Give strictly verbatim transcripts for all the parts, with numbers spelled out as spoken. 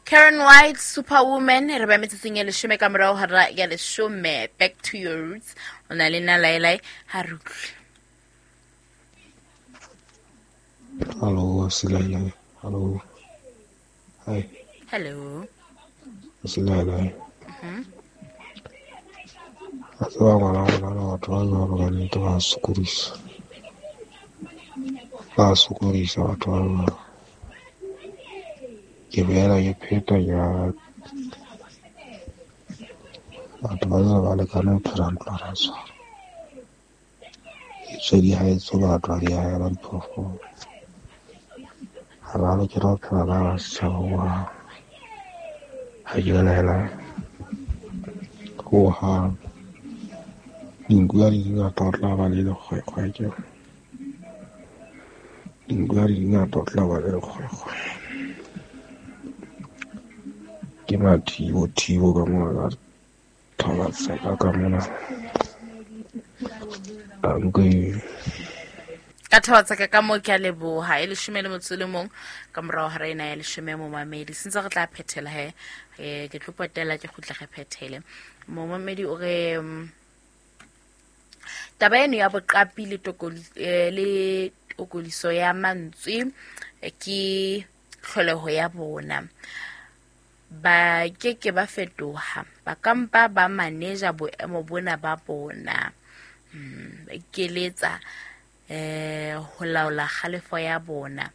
Karen White, Superwoman, re ba metsotsong e leshome ka morao hora ya leshome. Back to your roots. O na le nna Laelai, ha re utlwe. Hello, Silailai. Hello. Hi. Hello. Silailai. Mhm. A tseba ngwana wa rona batho ba jwalo ka nnete ba sokodisa. Ba sokodisa batho ba jwalo. Ke boela ke pheta ke a batho ba jwalo ba lekane ho phela ntlwana ya tshwara. Etswe di haetswe batho ha di haela diphoofolo. Ha ba lokela ho phela ka hara setjhaba hohang. Ha ke laela hohang. Dinku ha di di ngata ho tla ba le lekgwekgwe akere. Dinku ha di di ngata ho tla ba le lekgwekgwe. Ke Mathibo Thibo ka mona ka Thaba-Tseka ka mona. Dankie. Ka Thaba-Tseka ka moo ke a leboha. E leshome le motso o le mong ka morao hora ena ya leshome momamedi. Sentse re tla phethela he. Eh, ke tlo potela ke kgutle re phethele. Momamedi o re, mm, taba eno ya boqapi le tokoli-, eh, le tokoliso ya mantswe, eh, ke tlholeho ya bona. Ba ke ke ba fetoha, ba ka mpa ba manager boemo bona ba bona. Hmm, ba ikeletsa, eh, ho laola kgalefo ya bona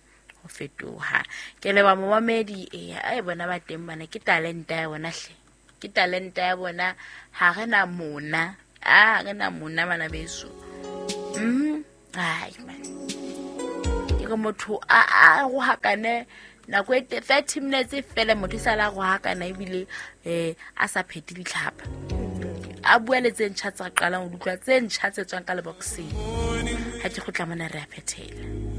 ho fetoha. Ke leboha momamedi, eh, ai bona ba teng bana, ke talenta ya bona hle. Ke talenta ya bona, ha re na mona. Ah, re na mona bana beso. Mhm. Ai man. Ke re motho a, a rohakane nako e te-, thirty minutes e fela motho e sala a rohakana ebile, eh, a sa phete ditlhapa. A bua le tse ntjha tsa qalang ho di utlwa, tse ntjha tse tswang ka lebokseng. Ha ke kgutla mona re a phethela.